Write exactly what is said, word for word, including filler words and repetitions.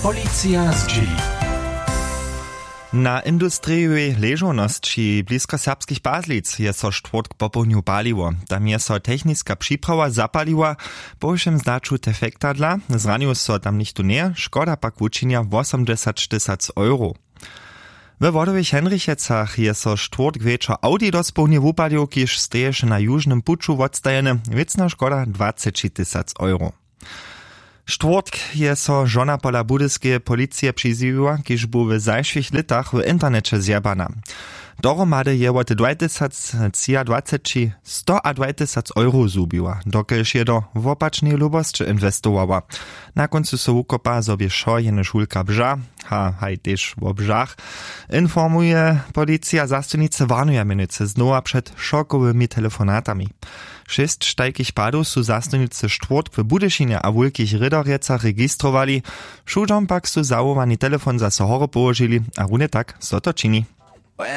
Policija zdźěli. Na industrijowej ležownosći blisko serbskich Pazlic je so štwórtk popołdnju paliło. Tam je so techniska připrawa zapaliła. Po wšěm zdaću defekta dla zranił so tam nichtó njeje, škoda pak wučinja wosomdźesać tysac euro. We wodowych Henrichecach je so štwórtk wječor audi dospołdnje wupalił, kiž steješe na južnym puću wotstajeny. Wěcna škoda dwaceći tysac euro. Štwórtk je so žona pola budyskeje policije přizjewiła, kiž bu w zašłych lětach w interneće zjebana. Dohromady je wot dwatysactřiadwaceći stoadwatysac euro zhubiła, dokelž je do wopačneje lubosće inwestowała. Na kóncu so wukopa zo bě wšo jenož wulka bža. Ha haj tež wo bžach, informuje policija. Zastojnicy warnuja mjenujcy znowa před šokowymi telefonatami. Šěsć tajkich padow su zastojnicy štwórtk w budyšinje a wulkich rědorjecach registrowali. Wšudźom pak su zawołani telefon zaso horje połožili a runje tak zo to čini.